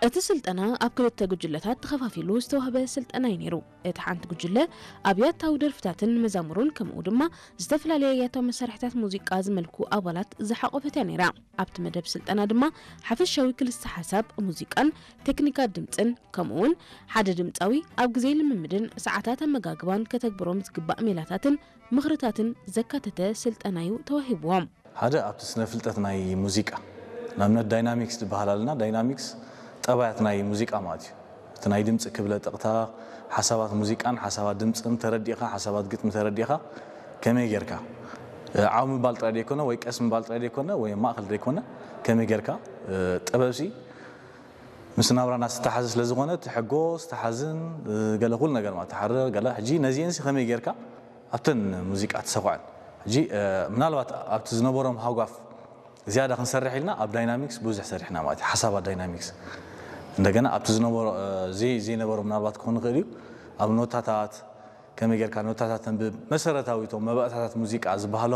እቲ ስልጠና ኣብ ክልተ ጉጅለታት ተኸፋፊሉ ዝተዋህበ ስልጠና እዩ ነይሩ። እቲ ሓንቲ ጉጅለ ኣብ ያታዊ ደርፍታትን መዛሙሩን ከምኡ ድማ ዝተፈላለየ ያታዊ መሳርሕታት ሙዚቃ ዝመልኩ ኣባላት ዝሓቖፈት እያ ነይራ። ኣብቲ መደብ ስልጠና ድማ ሓፈሻዊ ክልሰ ሓሳብ ሙዚቃን ቴክኒካት ድምፅን ከምኡ እውን ሓደ ድምፃዊ ኣብ ግዜ ልምምድን ሰዓታት ኣመጋግባን ከተግብሮም ዝግባእ ሜላታትን ምኽርታትን ዘካተተ ስልጠና እዩ ተዋሂብዎም። ሓደ ኣብቲ ስነ ፍልጠት ናይ ሙዚቃ ንኣብነት ዳይናሚክስ ዝበሃል ኣለና። ዳይናሚክስ ጠባያት ናይ ሙዚቃ ማለት እዩ። እቲ ናይ ድምፂ ክብለ ጥቕታ ሓሳባት ሙዚቃን ሓሳባት ድምፅን ተረዲእኻ ሓሳባት ግጥሚ ተረዲእኻ ከመይ ጌርካ ዓው ምባል ጥራይ ዘይኮነ ወይ ቀስ ምባል ጥራይ ዘይኮነ ወይ ማእኸል ዘይኮነ ከመይ ጌርካ ጥበብሲ ምስ ናብራና ዝተሓዘ ስለ ዝኾነ እቲ ሕጎስ ተሓዝን ገለ ኩሉ ነገር ማለት ተሓርር ገለ ሕጂ ነዚአንሲ ከመይ ጌርካ ኣብተን ሙዚቃ ትሰኹዐን ሕጂ ምናልባት ኣብቲ ዝነበሮም ሃጓፍ ዝያዳ ክንሰርሕ ኢልና ኣብ ዳይናሚክስ ብዙሕ ሰሪሕና ማለት ሓሳባት ዳይናሚክስ እንደገና ኣብቲ ዝነበሮ ዘይነበሮ ምናልባት ክኾን ይኽእል እዩ ኣብ ኖታታት ከመይ ጌርካ ኖታታት ተንብብ መሰረታዊ እቶም መባእታታት ሙዚቃ ዝበሃሉ